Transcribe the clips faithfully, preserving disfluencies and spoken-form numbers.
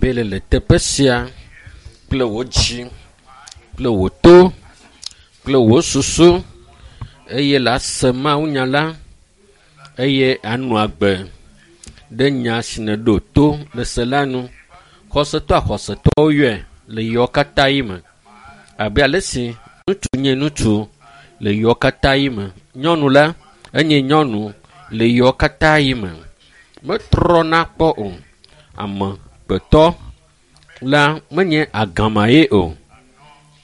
Be le le teƒe sia kple wò dzi, kple wò to, kple wò susu eye la se mawunya la eye anɔ agbe ɖe nya si nèɖo to le se la nu. Xɔsetɔ axɔsetɔwo yɔe le yewo katã yi me abe ale si ŋutsu nye ŋutsu le yewo katã yi me. Nyɔnu la enye nyɔnu le yewo katã yi me. Metrɔna kpɔ o. Amegbetɔ la menye agama ye o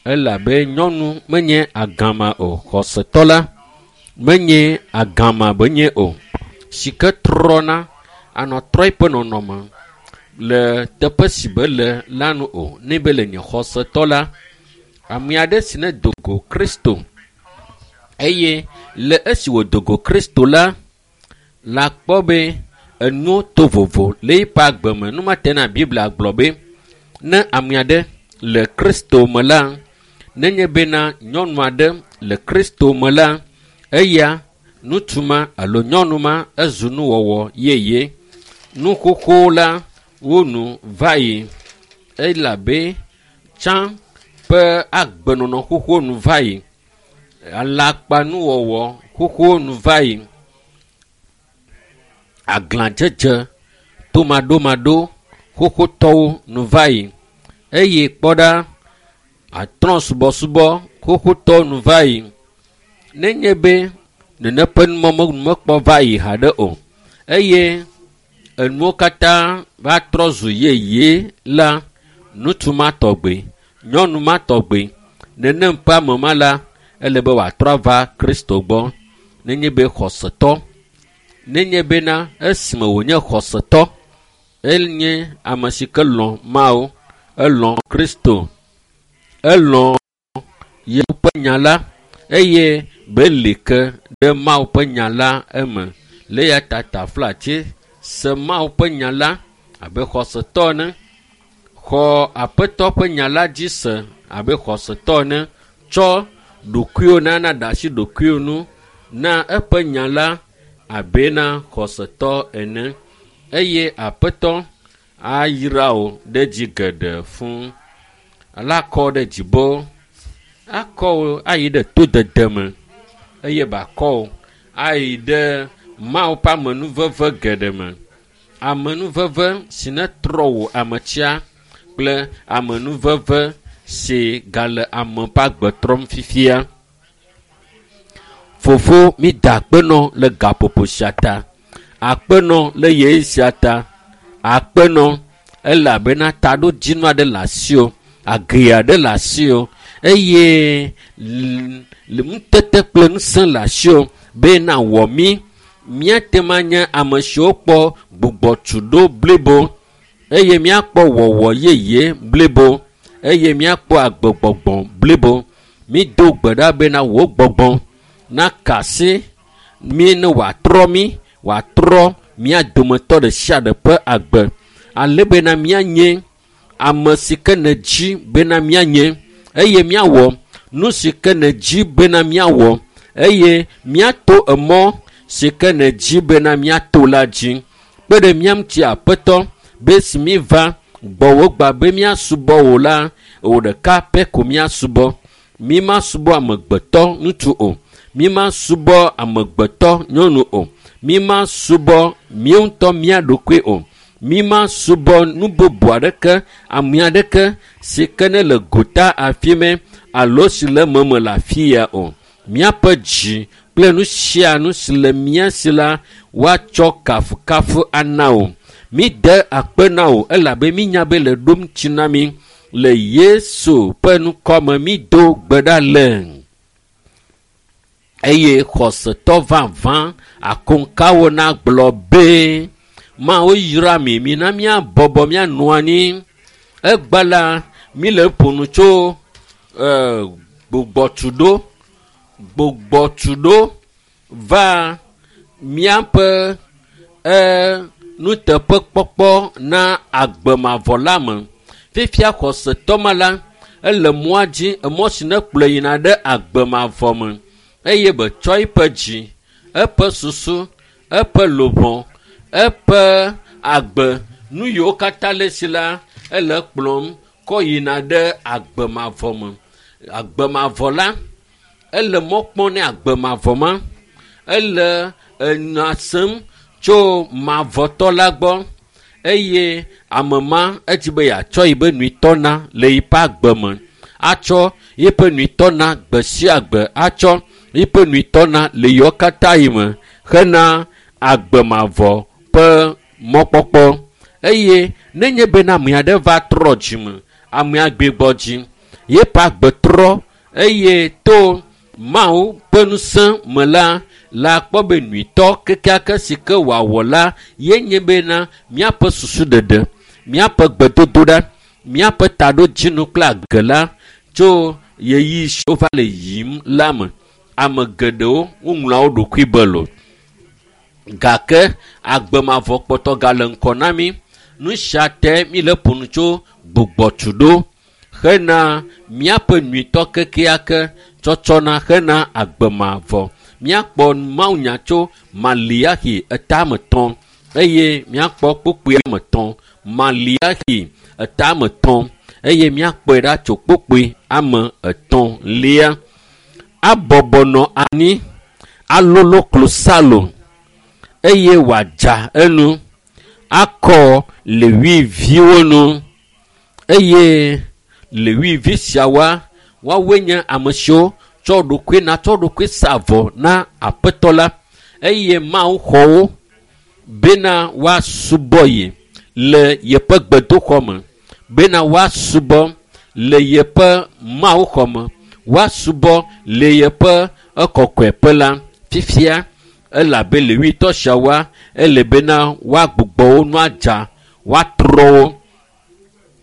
elabe nyɔnu menye agama o. Xɔsetɔ la menye agama benye o. Si ke trɔna anɔ trɔ eƒe nɔnɔme le teƒe si be le la nu o. Ne be le nye xɔsetɔ la, ame aɖe si ne do go Kristo eye le esi wòdo go Kristo la, la kpɔ be enuwo to vovo le eƒe agbe me. Nu ma te na Biblia gblɔ be ne ame aɖe le Kristo me la, nenye bena nyɔnu aɖe le Kristo me la, eya ŋutsu ma alo nyɔnu ma ezu nuwɔwɔ yeye. Nu xoxo la wo nu va yi elabe tsã ƒe agbenɔnɔ xoxo nu va yi. Alakpanuwɔwɔ xoxo nu va yi. Aglãdzedze, tomaɖomaɖo xoxotɔwo nu va yi eye kpɔ ɖa atrɔ̃subɔsubɔ xoxotɔwo nu va yi. Nenye be nene ƒe numɔ mekpɔ va yi haɖe o eye enuwo katã va trɔ zu yeye la, ŋutsu ma tɔgbe, nyɔnu ma tɔgbe, nenem ƒe ame ma la, ele be wòatrɔ ava Kristo gbɔ. Nenye be xɔsetɔ, nenye bena esime wònye xɔsetɔ, enye ame si ke lɔ̃ Mawu, elɔ̃ Kristo, elɔ̃ Yesu ƒe nya la eye be li ke ɖe Mawu ƒe nya la eme. Le eya ta taflatse se Mawu ƒe nya la abe xɔsetɔ ene. Xɔ Aƒetɔ ƒe nya la dzi se abe xɔsetɔ ene. Tsɔ ɖokuiwò na na ɖe asi ɖokuiwò nu na eƒe nya la abe na xɔsetɔ ene eye Aƒetɔ ayra wò ɖe dzi geɖe fũu. Ale akɔ wò ɖe dzibo, akɔ wò ayi ɖe todede me eye bàkɔ wò ayi ɖe Mawu ƒe amenuveve geɖe me. Amenuveve si netrɔ wò ametsia kple amenuveve si gale ame ƒe agbe trɔm fifia. Fofo mi da akpe nɔ le gaƒoƒo sia ta. Akpe nɔ le ɣeyiɣi sia ta. Akpe nɔ elabena taɖodzinu aɖe le asiwò, age aɖe le asiwò eye le ŋutete kple ŋusẽ le asiwò be nawɔ mí. Míate ŋu anye ame siwo kpɔ gbugbɔtuɖo blibo eye míakpɔ wɔwɔ yeye blibo eye míakpɔ agbegbɔgbɔ blibo. Mído gbe ɖa bena wò gbɔgbɔ naka asi mí ne wòatrɔ mí, wòatrɔ mía dometɔ ɖe sia ɖe ƒe agbe ale bena míanye ame si ke nèdzi bena míanye eye míawɔ nu si ke nèdzi bena míawɔ eye míato emɔ si ke nèdzi bena míato la dzi. Kpe ɖe mía ŋuti Aƒetɔ be esi míva gbɔwò gbã be míasubɔ wò la, wò ɖeka pɛ ko míasubɔ. Mímasubɔ amegbetɔ ŋutsu o. Mímasubɔ amegbetɔ nyɔnu o. Mímasubɔ míawo ŋutɔ mía ɖokui o. Mímasubɔ nu bubu aɖeke, ame aɖeke si ke ne le gota afi mɛ alo si le meme le afi ya o. Míaƒe dzi kple nu sia nu si le mía si la, woatsɔ kafukafu ana wò. Míde akpe na wò elabe mínya be le ɖom tsi na mí. Le Yesu ƒe ŋkɔme mído gbe ɖa le. Eye xɔsetɔ vavã akoŋkawo nagblɔ be Mawu yra mi, mina míabɔbɔ míanɔ anyi. Egbe la, míle ƒo nu tso e, gbugbɔtuɖo, gbugbɔtuɖo va míaƒe e, nuteƒekpɔkpɔ na agbemavɔ la me. Fifia xɔsetɔ ma la, ele mɔa dzi, emɔ si ne kplɔe yina ɖe agbemavɔ me eye betsɔ eƒe dzi, eƒe susu, eƒe luʋɔ, eƒe agbe, nu yiwo katã le esi la, Ele kplɔm kɔ yina ɖe agbemavɔ me. Agbemavɔ la, ele mɔ kpɔm ne agbemavɔ ma. Ele enya sem tso mavɔtɔ la gbɔ eye ame ma edzi be yeatsɔ yiƒe nuitɔ na le yiƒe agbe me. Atsɔ yiƒe nuitɔ na gbe sia gbe, atsɔ yiƒe nuitɔ na le yewo katã yi me hena agbemavɔ ƒe mɔkpɔkpɔ. Eye nenye bena ame aɖe va trɔ dzime, amea gbigbɔ dzi, yeƒe agbe trɔ eye to Mawu ƒe ŋusẽ me la, la kpɔ be nyuitɔ kekeake si ke wòawɔ la ye nye bena míaƒe susu ɖeɖe, míaƒe gbedodoɖa, míaƒe taɖodzinu kple age la tso ɣeyiɣi siwo va le yiyim la me. Ame geɖewo woŋlɔa wo ɖokui be lo. Gake agbemavɔ kpɔtɔ gale ŋkɔ na mí. Nu sia te míle ƒo nu tso gbugbɔtuɖo hena míaƒe nyuitɔ kekeake tsɔtsɔna hena agbemavɔ. Míakpɔ mawunya tso Maliaxi etametɔ̃ eye míakpɔ kpukpui ametɔ̃. Maliaxi etametɔ̃ eye míakpɔe ɖa tso kpukpui ame etɔ̃lia. Abɔbɔ nɔ anyi alolo klosalo eye wòadza enu akɔ Lewiviwo nu eye Lewivi siawoa woawoe nye ame siwo tsɔ ɖokui na tsɔ ɖokui sa avɔ na Aƒetɔ la eye Mawu xɔ wo bena woasubɔ ye le yeƒe gbedoxɔ me, bena woasubɔ le yeƒe mawuxɔ me, woasubɔ le yeƒe ekɔkɔeƒe la. Fifia elabe Lewitɔ siawoa ele bena woagbugbɔ wo nu adza, woatrɔ wo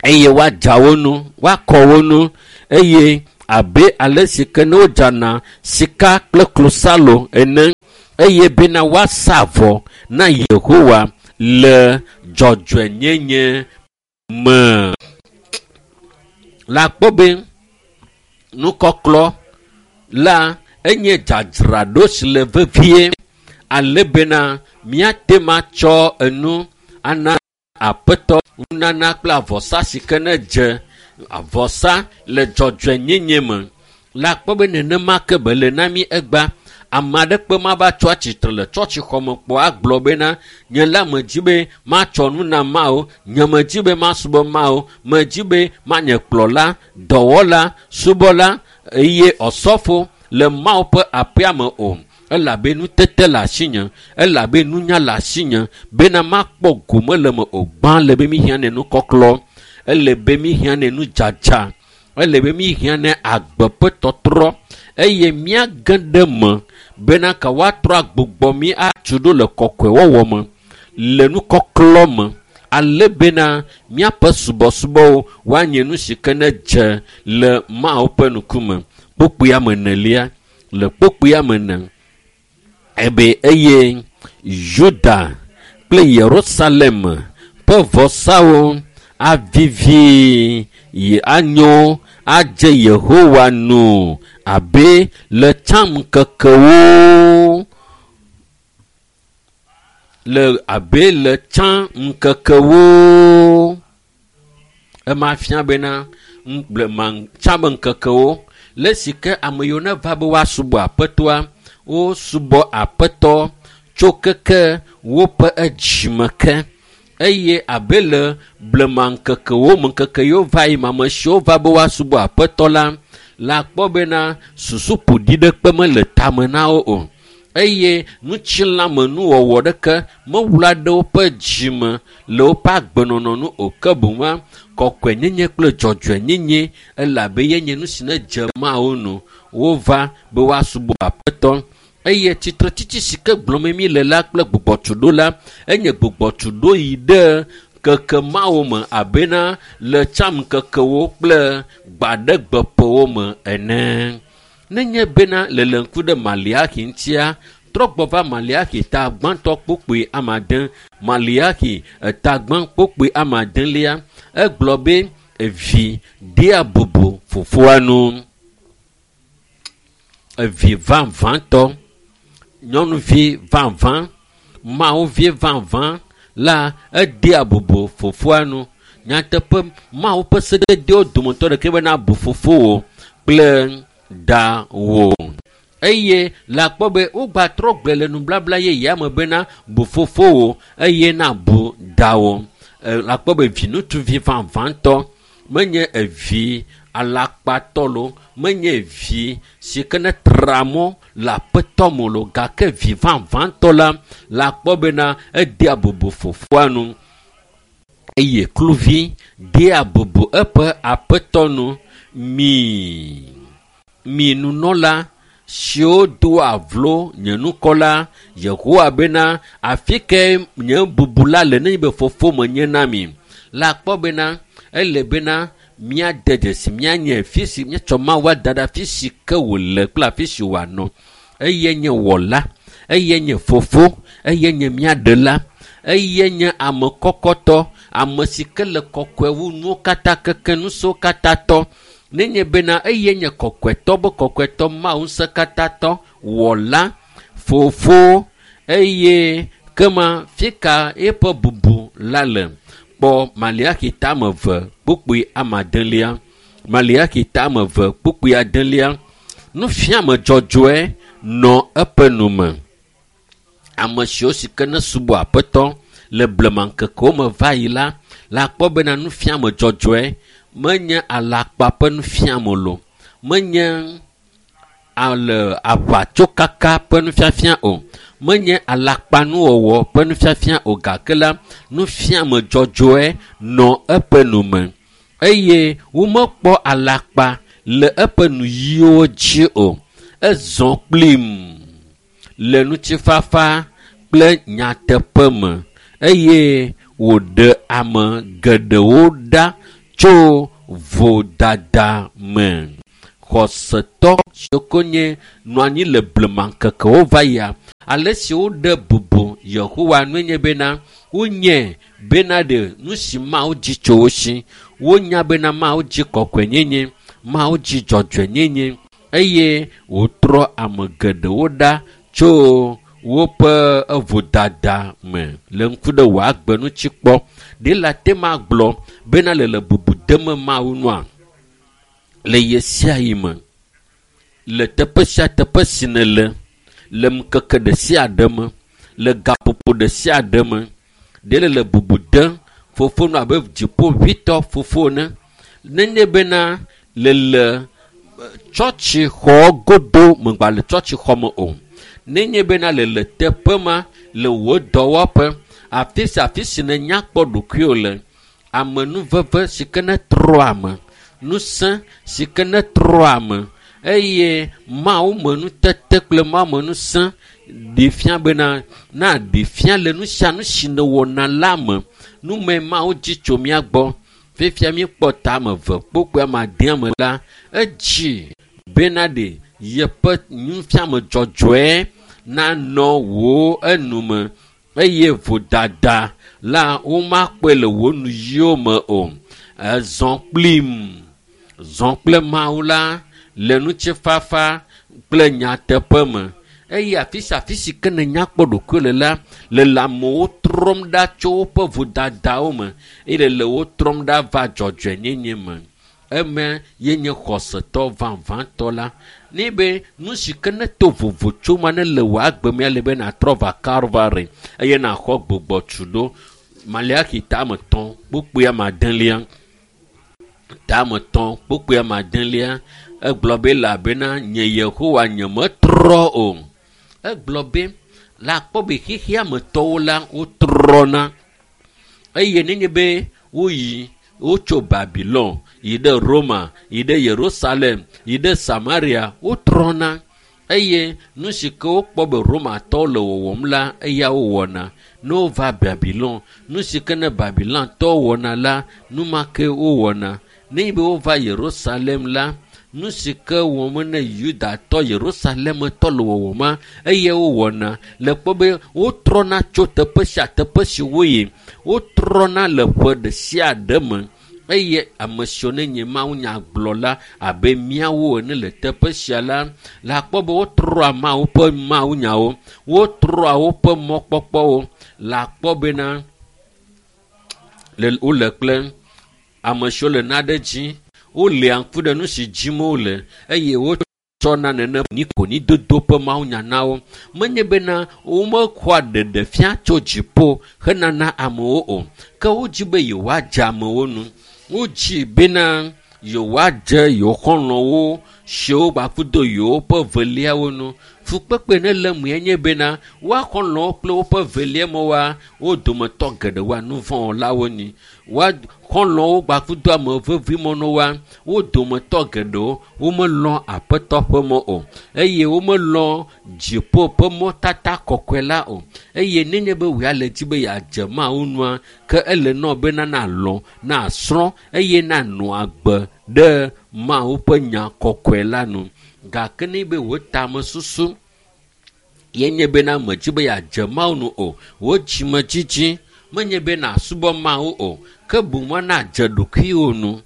eye woadza wo nu, woakɔ wo nu eye abe ale si ke ne wodzana sika kple klosalo ene eye bena woasa avɔ na Yehowa le dzɔdzɔenyenye me. La kpɔ be nukɔklɔ la enye dzadzraɖo si le vevie ale bena míate ŋu atsɔ enu ana Aƒetɔ nunana kple avɔsa si ke ne dze avɔsa le dzɔdzɔenyenye me. La kpɔ be nenema ke be le na mí egbea. Ame aɖeke mava tso atsitre le tsɔtsixɔme kpɔ agblɔ bena nye la medzi be matsɔ nu na Mawu, nye medzi be masubɔ Mawu, medzi be manye kplɔla, dɔwɔla, subɔla eye ɔsɔfo le Mawu ƒe aƒea me o. Elabe nutete le asinye, elabe nunya le asinye bena makpɔ gome le me o. Gbã le be míhiã ne nukɔklɔ, ele be míhiã ne nudzadza, ele be míhiã ne agbe ƒe tɔtrɔ eye míage ɖe me bena ka woatrɔ agbugbɔ mí atu ɖo le kɔkɔewɔwɔ me, le nukɔklɔ me, ale bena míaƒe subɔsubɔwo woanye nu si ke ne dze le Mawu ƒe ŋkume. Kpukpui ame enelia, le kpukpui ame ene ebe eye Yuda kple Yerusalem ƒe vɔsawo avivi yi anyo adze Yehowa nu abe le tsã ŋkekewo le abe le tsã ŋkekewo. Ema fia bena blema tsã be ŋkekewo le si ke ame yiwo ne va be woasubɔ Aƒetɔa, wosubɔ Aƒetɔ tso keke woƒe edzime ke eye abe le blema ŋkekewo me ŋkeke yiwo va yi me ame siwo va be woasubɔ Aƒetɔ la la kpɔ bena susu ƒoɖi ɖekpe mele tame na wo o eye ŋutilãmenuwɔwɔ ɖeke mewla ɖe woƒe dzime le woƒe agbenɔnɔ nu o ke boŋ kɔkɔenyenye kple dzɔdzɔenyenye elabe ye nye nu si ne dze Mawu nu wova be woasubɔ Aƒetɔ. Eye tsitretsitsi si ke gblɔm mí le la kple gbugbɔtuɖo la enye gbugbɔtuɖo yi ɖe keke Mawu me abena le tsã ŋkekewo kple gbaɖegbeƒewo me ene. Nenye bena le le ŋku ɖe Maliaxi ŋutia, trɔ gbɔ va Maliaxi ta gbãtɔ kpukpui ame ade, Maliaxi eta gbã kpukpui ame adelia, egblɔ be evi dea bubu fofoa nu. Evi vavãtɔ, nyɔnuvi vavã, Mawuvi vavã la edea bubu fofoa nu. Nyateƒe Mawu ƒe sededewo dometɔ ɖeka bena bu fofowò kple dawò. Eye le akpɔ be wogbatrɔ gblɔe le nublabla yeyea me bena bu fofowò eye nabu dawò. Le akpɔ be viŋutsuvi vavãtɔ menye evi alakpatɔ lo, menye vi si ke ne tra mɔ le aƒetɔ me lo, gake vi vavãtɔ la le akpɔ bena edea bubu fofoa nu eye kluvi dea bubu eƒe aƒetɔ nu. Mi, mi nunɔla siwo doa vlo nye ŋkɔ la, Yehowa bena afi ke nye bubu la le nenye be fofo menye na mi. Le akpɔ bena ele bena míade dzesi míanye fi si míetsɔ Mawu ada ɖe afi si ke wòle kple afi si wòanɔ. Eye nye wɔla, eye nye fofo, eye nye míaɖela, eye nye ame kɔkɔtɔ, ame si ke le kɔkɔe wu nuwo katã keke nusiwo katã tɔ. Nenye bena eye nye kɔkɔetɔ be kɔkɔetɔ Mawu ŋusẽkatãtɔ wɔla fofo eye kema fika eƒe bubu la le. Kpɔ Maleaxi tame eve kpukpui amadelia. Maleaxi tame eve kpukpui adelia. Nufiame dzɔdzɔe nɔ eƒe nume. Ame siwo si ke ne subɔ aƒetɔ le blema ŋkekewo me va yi la, le akpɔ bena nufiame dzɔdzɔe menye alakpa ƒe nufiame lo, menye ale aʋatsokaka ƒe nufiafia o, menye alakpanuwɔwɔ ƒe nufiafia o, gake la nufiame dzɔdzɔe nɔ eƒe nume eye womekpɔ alakpa le eƒe nuyiwo dzi o. Ezɔ kplim le ŋutifafa kple nyateƒe me eye wòɖe ame geɖewo ɖa tso vodada me. Xɔsetɔ siwo ke nye nɔ anyi le blema ŋkekewo va yia, ale si woɖe bubu Yehowa nue nye bena wonye bena ɖe nu si Mawu dzi tso wo si. Wonya bena Mawu dzi kɔkɔenyenye, Mawu dzi dzɔdzɔenyenye eye wòtrɔ ame geɖewo ɖa tso woƒe vodada me. Le ŋku ɖe wò agbe ŋuti kpɔ. Ɖe le ate ma gblɔ bena le le bubu dem Mawu nua le ɣe sia ɣi me, le teƒe sia teƒe si nèle, le ŋkeke ɖe sia ɖe me, le gaƒoƒo ɖe sia ɖe me, ɖe le le bubu dem fofo nu abe dziƒoʋĩtɔ fofo ene. Nenye bena le le tsɔtsixɔ godo megba le tsɔtsixɔ me o. Nenye bena le le teƒe ma le wò dɔwɔƒe, afi sia afi si nènya kpɔ ɖokuiwò le, amenuveve si ke ne trɔ ame, ŋusẽ si ke ne trɔ ame eye Mawu me nutete kple Mawu me ŋusẽ ɖi fia bena na ɖi fia le nu sia nu si nèwɔna la me. Nume Mawu dzi tso mía gbɔ. Fifia míekpɔ tame eve kpokpui ame adea me la, edzi bena ɖe yeƒe nufiame dzɔdzɔe nanɔ wò enume eye vodada la womakpɔe le wò nuyiwo me o. Ezɔ kplim, zɔ kple Mawu la le ŋutifafa kple nyateƒe me. Eye afi sia afi si ke nènya kpɔ ɖokuiwò le la, le le amewo trɔm ɖa tso woƒe vodadawo me eye le wo trɔm ɖa va dzɔdzɔenyenye me. Eme ye nye xɔsetɔ vavãtɔ la. Ne be nu si ke ne to vovo tso ma ne le wò agbe mea le be nàtrɔ va Kalvari eye nàxɔ gbugbɔtu ɖo. Maleaxi tame etɔ̃ kpukpui ame adelia. Tame etɔ̃ kpukpui ame adelia. Egblɔ be elabena nye Yehowa nyemetrɔ o. Egblɔ be le akpɔ be xexea me tɔwo la wotrɔna eye nenye be woyi wotso Babilɔn yi ɖe Roma, yi ɖe Yerusalem, yi ɖe Samaria, wotrɔna eye nu si ke wokpɔ be Romatɔwo le wɔwɔm la eya wowɔna. Ne wova Babilɔn, nu si ke ne Babilontɔwo wɔna la, nu ma ke wowɔna. Nenye be wova Yerusalem la, nu si ke wɔm ne Yudatɔ Yerusalemetɔ le wɔwɔma eye wowɔna. Le kpɔ be wotrɔna tso teƒe sia teƒe si woyi. Wotrɔna le ƒe ɖe sia ɖe me eye ame siwo ne nye mawunyagblɔla abe míawo ene le teƒe sia la, le akpɔ be wotrɔa Mawu ƒe mawunyawo, wotrɔa woƒe mɔkpɔkpɔwo. Le akpɔ bena le wole kple Ame siwo le naɖe dzi wolia ŋku ɖe nu si dzim wole eye wotsɔna nene nikonidodo ƒe mawunya na wo. Menye bena womexɔa ɖeɖefia tso dziƒo henana amewo o, ke wodzi be yewoadze amewo nu. Wodzi bena yewoadze yewo xɔlɔ̃wo siwo gbakudo yewoƒe veliawo nu. Fukpekpe ne le mue nye bena woa xɔlɔ̃wo kple woƒe velia mewoa, wo dometɔ geɖe woa nu vɔ̃wɔlawo nyi. Woa xɔlɔ̃wo gbakudo ame vevi mɔnɔwoa, wo dometɔ geɖewo womelɔ̃ aƒetɔ ƒe mɔ o eye womelɔ̃ dziƒo ƒe mɔtata kɔkɔe la o. Eye nenye be wòya le dzi be yeadze Mawu nua, ke ele nɔ bena nalɔ̃, nasrɔ̃ eye nanɔ agbe ɖe Mawu ƒe nya kɔkɔe la nu. Gake ne be wò tamesusu ye nye bena medzi be yeadze Mawu nu o, wò dzimedzidzi menye be nasubɔ Mawu o, ke boŋ nadze ɖokuiwò nu.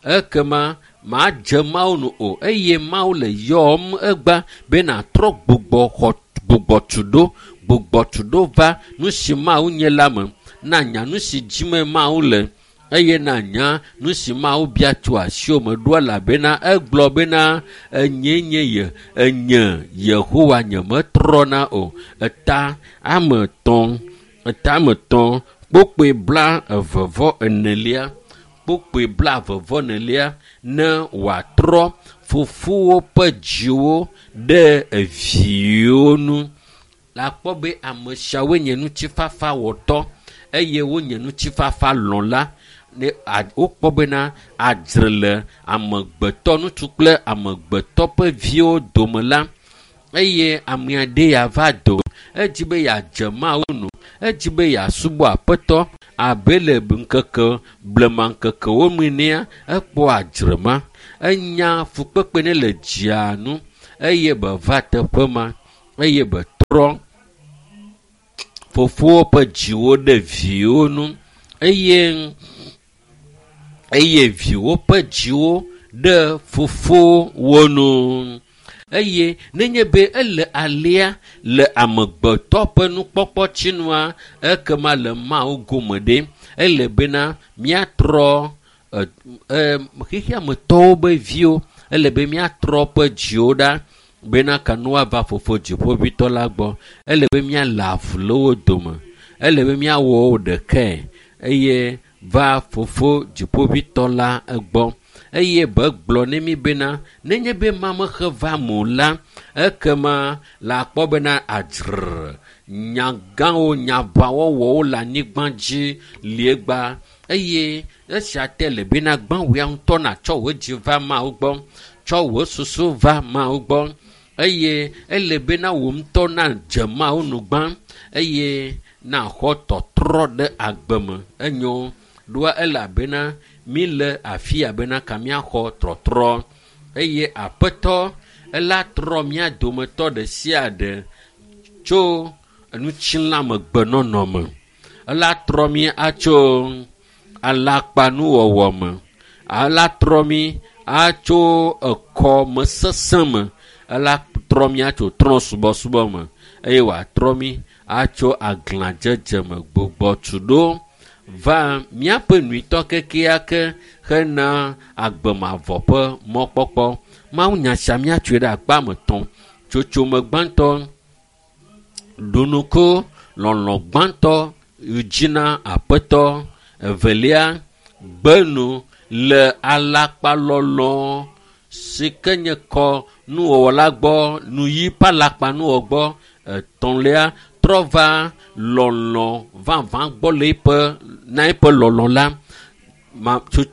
Ekema madze Mawu nu o eye Mawu le yɔm egba be natrɔ gbugbɔ xɔ gbugbɔ tu ɖo, gbugbɔ tu ɖo va nu si Mawu nye la me. Nanya nu si dzime Mawu le eye nanya nu si Mawu bia tso asiwò me ɖo elabena egblɔ bena enye nye ye enye Yehowa nyemetrɔna o. Eta ame etɔ̃ eta ame etɔ̃ kpokpoe bla eve vɔ enelia kpokpoe bla eve vɔ enelia ne wòatrɔ fofowo ƒe dziwo ɖe eviwo nu. La kpɔ be ame siawoe nye ŋutifafawɔtɔ eye wonye ŋutifafalɔ̃la. Ne wokpɔ bena adzre le amegbetɔ ŋutsu kple amegbetɔ ƒe viwo dome la eye ame aɖe ya va do edzi be yeadze Mawu nu, edzi be yeasubɔ aƒetɔ abe le ŋkeke blema ŋkekewo me nea ekpɔ adzre ma. Enya fukpekpe ne le dzia nu eye be va teƒe ma eye be trɔ fofowo ƒe dziwo ɖe viwo nu eye eye viwo ƒe dziwo ɖe fofowo nu. Eye nenye be ele alea le amegbetɔ ƒe nukpɔkpɔ tsinua, ekema le Mawu gome ɖe ele bena míatrɔ e xexeametɔwo be viwo, ele be míatrɔ ƒe dziwo ɖa bena kanu woava fofo dziƒoʋĩtɔ la gbɔ. Ele be míalé avu le wo dome. Ele be míawɔ wo ɖekae eye va fofo dziƒoʋĩtɔ la egbɔ. Eye be gblɔ ne mi bena nenye be mamexe va mo la, ekema la kpɔ bena adzre nyagãwo nyaʋawɔwɔwo le anyigba dzi liegba eye esia te le bena gbã wòya ŋutɔ natsɔ wò dzi va Mawu gbɔ, tsɔ wò susu va Mawu gbɔ eye ele bena wò ŋutɔ nadze Mawu nu gbã eye naxɔ tɔtrɔ ɖe agbe me. Enyo ɖoa elabena mi le afi ya bena ka míaxɔ trɔtrɔ eye aƒetɔ ela trɔ mía dometɔ ɖe sia ɖe tso ŋutilãmegbenɔnɔ me. Ela trɔ mí atso alakpanuwɔwɔ me. Ela trɔ mí atso ekɔmesesẽ me. Ela trɔ mí atso trɔ̃subɔsubɔ me eye wòatrɔ mí atso aglãdzedze me gbugbɔ tu ɖo va míaƒe nyuitɔ kekeake hena agbemavɔ ƒe mɔkpɔkpɔ. Mawu nya sia míatsoe ɖe akpa ame etɔ̃. Tsotsome gbãtɔ, ɖonuko lɔlɔ̃ gbãtɔ dzi na aƒetɔ. Evelia, gbenu le alakpalɔlɔ̃ si ke nye kɔ nuwɔwɔ la gbɔ, nuyi ƒe alakpanuwɔ gbɔ. Etɔ̃lia, trɔ va lɔlɔ̃ vavã gbɔ le eƒe na eƒe lɔlɔ̃ la. Ma, tso,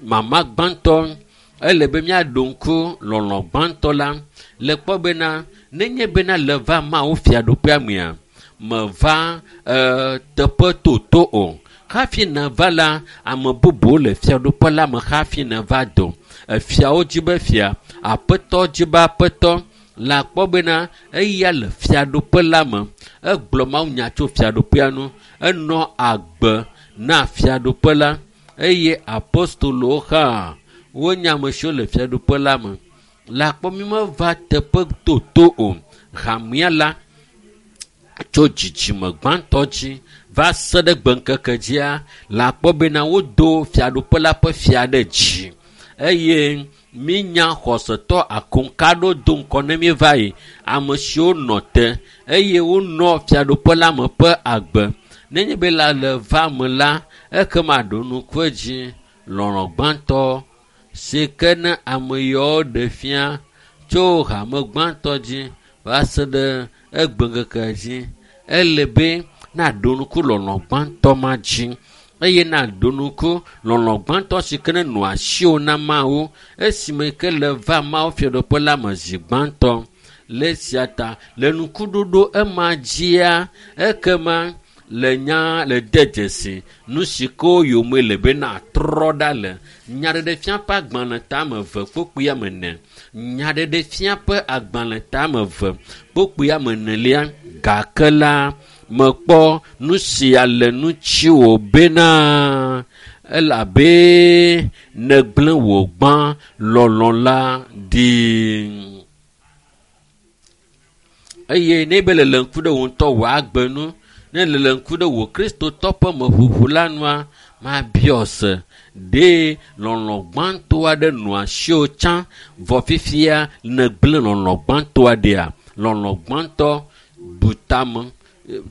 mama gbãtɔ, ele be míaɖo ŋku lɔlɔ̃ gbãtɔ la le kpɔ bena nenye bena le va Mawu fiaɖuƒea mea, meva e, teƒe toto o. Hafi neva la, ame bubuwo le fiaɖuƒe la me hafi neva do. Efiawo dzi be fia, aƒetɔ dzi be aƒetɔ. La kpɔ bena eya le fiaɖuƒe la me. Egblɔ mawunya tso fiaɖuƒea nu. Enɔ agbe na fiaɖuƒe la eye apostolowo hã wonye ame siwo le fiaɖuƒe la me. La kpɔ mi meva teƒe toto o. Hamea la tso dzidzime gbãtɔ dzi Va se ɖe gbeŋkeke dzia le akpɔ bena wodo fiaɖuƒe la ƒe fia ɖe dzi eye mínya xɔsetɔ akoŋka ɖo do ŋkɔ ne míeva yi ame siwo nɔ te eye wonɔ fiaɖuƒe la me ƒe agbe nenye be la le va me la ekema ɖo ŋku edzi lɔlɔ̃ gbãtɔ si ke ne ame yawo ɖe fia tso hame gbãtɔ dzi va se ɖe egbeŋkeke dzi ele be naɖo ŋku lɔlɔ̃ gbãtɔ ma dzi eye naɖo ŋku lɔlɔ̃ gbãtɔ si ke ne nɔ asiwò na Mawu esime ke le va Mawu fiaɖuƒe la me zi gbãtɔ le esia ta le ŋkuɖoɖo ema dzia ekema le nya le de dzesi nu si ke wo yome le be natrɔ ɖa le nyaɖeɖefia ƒe agbalẽ tame eve kpokpui ame ene nyaɖeɖefia ƒe agbalẽ tame eve kpokpui ame enelia gake la mekpɔ nu sia le ŋutiwò bena elabe nègblẽ wò gbã lɔlɔ̃ la ɖi. Eye ne be le ŋku ɖe wò ŋutɔ wò agbe nu ne le ŋku ɖe wò kristotɔ ƒe meʋuʋu la nua mabiɔ se ɖe lɔlɔ̃ gbãtɔ aɖe nɔ asiwò tsã vɔ fifia nègblẽ lɔlɔ̃ gbãtɔa ɖia lɔlɔ̃ gbãtɔ bu tame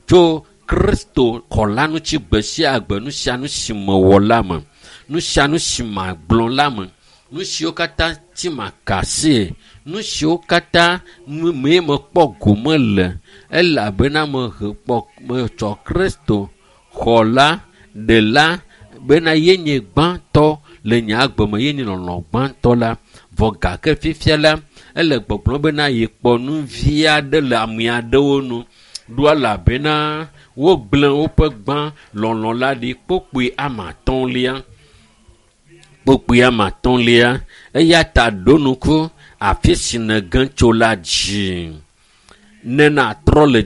tso kristo xɔla ŋuti gbe sia gbe nu sia nu si mewɔ la me nu sia nu si magblɔ la me nu siwo katã ti maka asie nu siwo katã mee mekpɔ gome le elabena mehe kpɔ metsɔ kristo xɔla ɖela bena yenye gbãtɔ le nye agbe me yenye lɔlɔ̃ gbãtɔ la vɔ gake fifia la ele gbɔgblɔm bena yekpɔ nu vi aɖe le ame aɖewo nu ɖo elabena wogblẽ woƒe gbã lɔlɔ̃ la ɖi kpokpui ame atɔ̃lia kpokpui ame atɔ̃lia eya ta ɖo ŋku afi si nège tso la dzi ne natrɔ le